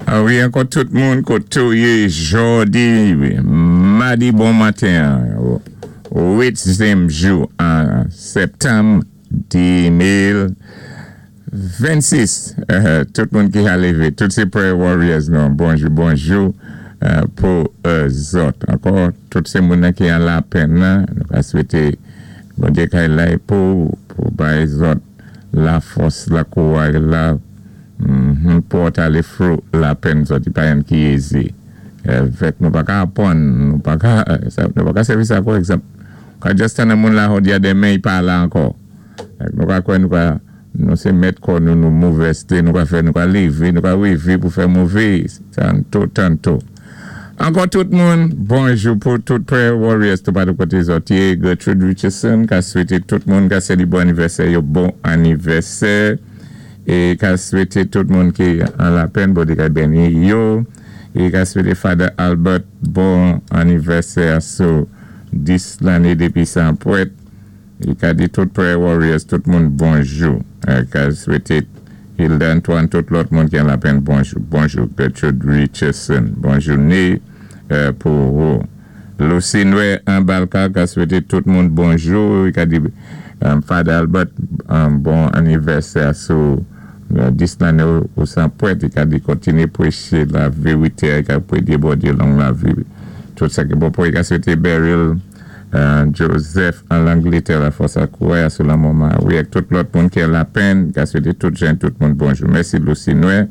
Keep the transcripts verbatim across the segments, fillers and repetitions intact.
Ah wi, ankò tout moun koté ou yé jòdi, madi bon maten, uityèm jou an septanm de mil vennsis. Tout moun ki a lévé, tout sé prayer warriors nou, bonjou, bonjou pou zòt. Ankò, tout sé moun ki an lapenn, nou ka swété Bondyé kay la pou, pou bay zòt la fòs, la kouway, la pou alé through lapenn zòt, i pa youn ki easy. Fèk nou pa ka apwann, nou pa ka, nou pa ka sèvi sa kou egzanp. Ka just tann moun la jòdi a, denmen i pa la ankò. Nou ka kwè nou ka, nou sé mèt kò nou, nou movèzté, nou ka fè, nou ka lévé, nou ka wévé pou fè mové, tanto, tanto. Ankò tout moun, bonjou pou tout prayer warriors tou patou koté zòt yé. Gertrude Richardson, ka swété tout moun ka séli bon anivèsè yo, bon anivèsè. É ka swété tout moun ki an lapenn, Bondyé ka béni yo. É ka swété Father Albert bon anivèsè sou dis lanné dépi san pwèt. É ka di tout prayer warriors, tout moun bonjou. É ka swété Hilda Antoine, tout lòt moun ki an lapenn bonjou. Bonjou Gertrude Richardson, bonjou né pou ou. Lucy Noé an Balka ka swété tout moun bonjou. É ka di Father Albert bon anivèsè sou dis lanné ou san pwèt. I ka di kontiné pwéché la vérité, i ka pwédé Bondyé long lavi. Tout sa ki bon pou i ka swété Beryl Joseph an Langlétè la fòs ak kouway sou la moman. Wi, ak tout lòt moun ki an lapenn, ka swété tout jen, tout moun bonjou. Mèsi Lucy Noé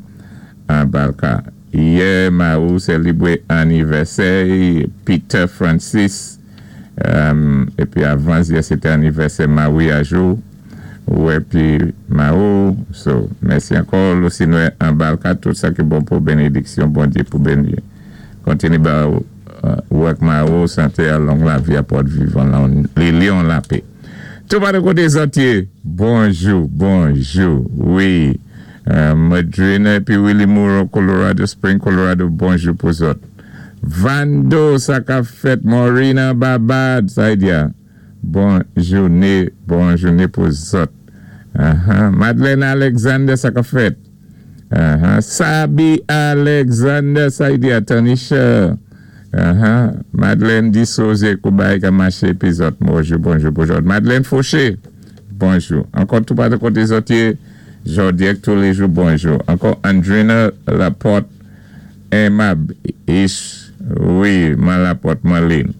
an Balka. Yè, Maou sélibwé anivèsè, Peter Francis, épi avan yè sété anivèsè Maou Ajou. Ou épi Maou, so, mèsi ankò, Lucy Noé an Balka, tout sa ki bon pou bénédiksyon, Bondyé pou béni. Kontiné ba ou ak Maou, santé a long lavi a pòt vivan li lyon lapè. Tou patou koté zòt yé, bonjou, bonjou, wi. Madrina épi Willie Moore, Colorado Spring, Colorado, bonjou pou zòt. Vando, sa ka fèt, Morina Babad, sa y diya, bonjou né, bonjou né pou zòt. Madeleine Alexander, sa ka fèt. Sabi Alexander, sa y diya, Tanisha. Madeleine Dissose, koubay ka maché pi zòt, bonjou, bonjou, bonjou. Madeleine Fauché, bonjou. Ankò tou patou koté zòt yé, jòdi ak tous les jours, bonjou. Ankò Andrina Laporte, Aimable, Ish, wi, Man Laporte, Marlene.